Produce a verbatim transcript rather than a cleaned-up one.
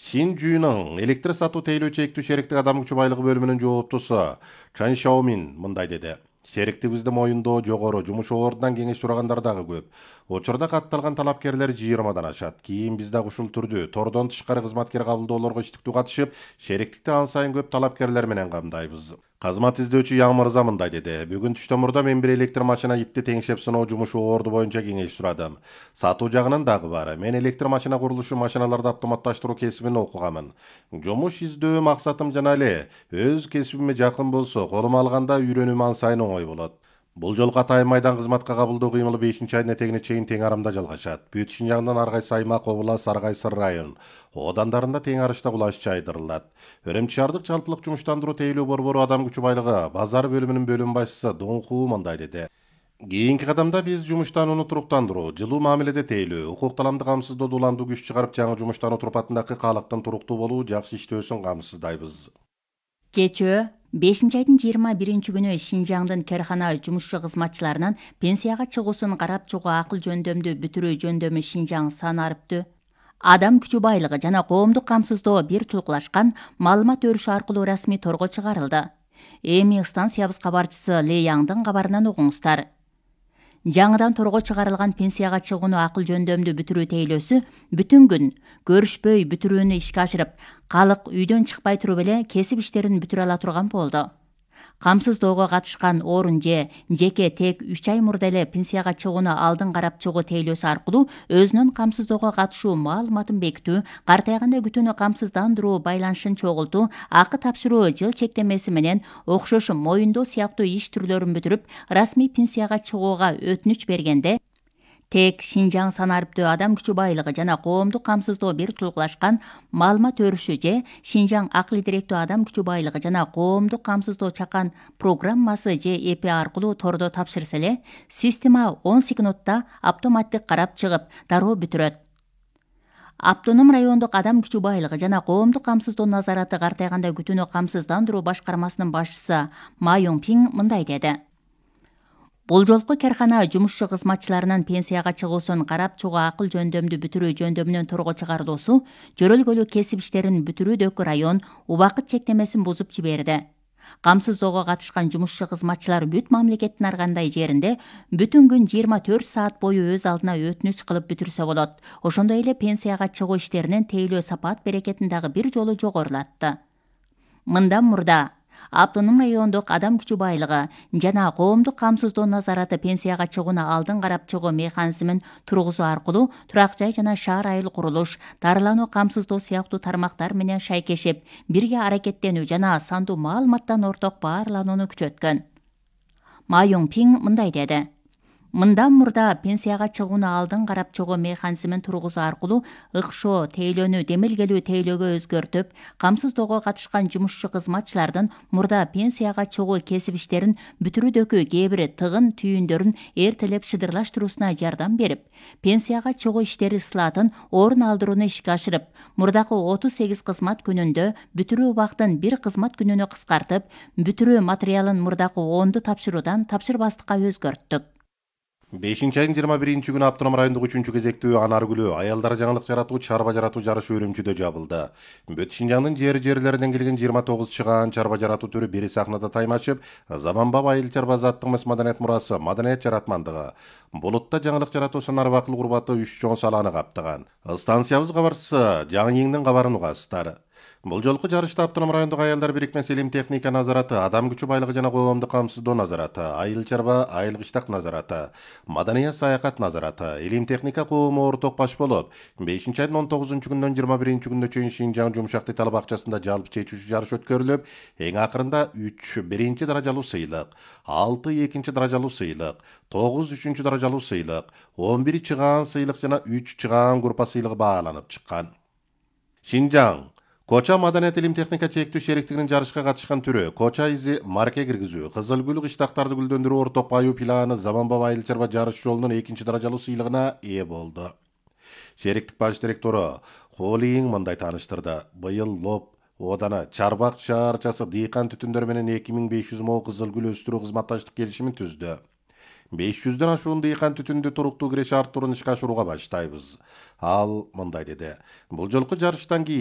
Шинжүүнүн электр сатуу тейлөө чектүү шериктик адам күчү байлыгы бөлүмүнүн жооптусу Чан Шаомин мындай деди. Шериктигибизде моюндоо жогору жумуш ордунан кеңеш сурагандар дагы көп. Учурда катталган талапкерлер жыйырмадан ашат. Кийин биз дагы ушул түрдүү тордон тышкары кызматкер кабылдоолорго иштиктүү катышып, шериктикти ан сайын көп талапкерлер менен камдайбыз. Кызмат издөөчү Яң мырза мындай деди. Бүгүн түштөн мурда мен бир электр машина итти теңшеп сыноо жумушу орду боюнча кеңеш сурадым. Сатуу жагынан дагы бар. Мен электр машина курулушу, машиналарды автоматташтыруу кесибин окуганмын. Жумуш издөө максатым жана эле өз кесибиме жакын болсо, колума алганда үйрөнүүм ан сайын оңой болот. Бул жолку Атайын майдан кызматка кабылдоо кыймылы бешинчи айдын этегине чейин тең арамда жалгашат. Бүт Шинжаңдын ар кайсы аймак, област, ар кайсы район оодандарында тең арышта кулаш чайдырылат. Өремчи шаардык жалпылык жумуштандыруу тейлөө борбору адам күчү байлыгы базар бөлүмүнүн бөлүм башчысы Дун Ху мындай деди. Кийинки кадамда биз жумуштанууну туруктандыруу, жылуу мамиледе тейлөө, укук таламды камсыздоодо уланду күч чыгарып, жаңы жумуштануу турпатындагы каалыктын туруктуу болуу, жакшы иштөөсүн камсыздайбыз. Кечөө бешинчи айдын жыйырма биринчи күнү Шинжаңдын керкана жумушчу кызматчыларынан пенсияга чыгуусун карап чыгуу акыл жөндөмдү бүтүрүү жөндөмү Шинжаң санариптүү адам күчү байлыгы жана коомдук камсыздоо бир тулкулашкан маалымат өрүшү аркылуу расмий торго чыгарылды. Эми станциябыз кабарчысы Ле Яңдын кабарынан угуңуздар. Жаңыдан торго чыгарылган пенсияга чыгууну акыл жөндөмдү бүтүрүү тейлөөсү бүтүн күн көрүшпөй бүтүрүүнү ишке ашырып, калык үйдөн чыкпай туруп эле кесип иштерин бүтүрө ала турган болду. Камсыздоого катышкан орун же жеке тек үч ай мурда эле пенсияга чыгууну алдын карап чыгуу тейлөөсү аркылуу өзүнүн камсыздоого катышуу маалыматын бекитүү, картайганда күтүүнү камсыздандыруу байланышын чогултуу, акы тапшыруу жыл чектемеси менен окшош моюндоо сыяктуу иш түрлөрүн бүтүрүп, расмий пенсияга чыгууга өтүнүч бергенде тек Шинжаң санариптүү адам күчү байлыгы жана коомдук камсыздоо бир тулкулашкан маалымат өрүшү же Шинжаң акыл идиректүү адам күчү байлыгы жана коомдук камсыздоо чакан программасы же Э П аркылуу тордо тапшырса эле, система он секундта автоматтык карап чыгып, дароо бүтүрөт. Автоном райондук адам күчү байлыгы жана коомдук камсыздоо назараты картайганда күтүүнү камсыздандыруу башкармасынын башчысы Ма Юң Пиң мындай деди. Бул жолку керкана жумушчу кызматчыларынын пенсияга чыгуусун карап чыгуу акыл жөндөмдү бүтүрүү жөндөмүнөн торго чыгарылуусу жөрөлгөлүү кесип иштерин бүтүрүүдөгү район убакыт чектемесин бузуп жиберди. Камсыздоого катышкан жумушчу кызматчылар бүт мамлекеттин ар кандай жеринде бүтүн күн жыйырма төрт саат бою өз алдына өтүнүч кылып бүтүрсө болот. Ошондой эле пенсияга чыгуу иштеринин тейлөө сапат берекетин дагы бир жолу жогорулатты. Мындан мурда автоном райондук адам күчү байлыгы жана коомдук камсыздоо назараты пенсияга чыгууну алдын карап чыгуу механизмин тургузуу аркылуу турак жай жана шаар айыл курулуш, дарылануу, камсыздоо сыяктуу тармактар менен шайкешип, бирге аракеттенүү жана сандуу маалыматтан орток баарланууну күчөткөн. Ма Юң Пиң мындай деди. Мындан мурда пенсияга чыгууну алдын карап чыгуу механизмин тургузуу аркылуу ыкшоо тейлөөнү демилгелүү тейлөөгө өзгөртүп, камсыздоого катышкан жумушчу кызматчылардын мурда пенсияга чыгуу кесип иштерин бүтүрүүдөгү кээ бир тыгын түйүндөрүн эртелеп шыдырлаштырууна жардам берип, пенсияга чыгуу иштери ысылатын орун алдырууну ишке ашырып, мурдакы отуз сегиз кызмат күнүндө бүтүрүү убактын бир кызмат күнүнө кыскартып, бүтүрүү материалын мурдакы онду тапшыруудан тапшырбастыкка өзгөрттүк. бешинчи айдын жыйырма биринчи күнү автоном райондук үчүнчү кезектүү Анаргүлү аялдар жаңылык жаратуу, чарба жаратуу жарышы Үрүмчүдө жабылды. Бүт Шинжаңдын жери-жерлеринен келген жыйырма тогуз чыгаан чарба жаратуу түрү бир сахнада таймашып, заманбап айыл чарба заттык маданият мурасы, маданият жаратмандыгы, булутта жаңылык жаратуу санары акыл курбаты үч чоң салааны каптаган. Станциябыз кабарчысы Жаңы Йиңдин кабарын угасыздар. Бул жолку жарышта автоном райондук аялдар бирикмеси илим техника назараты, адам күчү байлыгы жана коомдук камсыздоо назараты, айыл чарба, айыл кыштак назараты, маданият саякат назараты, илим техника коому орток баш болуп, бешинчи айдын он тогузунчу күнүнөн жыйырма биринчи күнүнө чейин Шинжаң Жумшак Детал бакчасында жалпы чечүүчү жарыш өткөрүлүп, эң акырында үч биринчи даражалуу сыйлык, алты экинчи даражалуу сыйлык, тогуз үчүнчү даражалуу сыйлык, он бир чыгаан сыйлык жана үч чыгаан группа сыйлыгы бааланып чыккан. Шинжаң Коча маданият илим техника чектүү шериктигинин жарышка катышкан түрү Коча изи марке киргизүү, кызыл гүл кыштактарды гүлдөндүрүү орток баюу планы заманбап айыл чарба жарыш жолунун экинчи даражалуу сыйлыгына ээ болду. Шериктик баш директору Холи Йиң мындай тааныштырды. Быйыл Лоп ооданы Чарбак шаарчасы дыйкан түтүндөр менен эки миң беш жүз мо кызыл гүл өстүрүү кызматташтык келишимин түздү. беш жүздөн ашуун дыйкан түтүндү туруктуу киреше арттыруун ишке ашырууга баштайбыз. Ал мындай деди. Бул жолку жарыштан кийин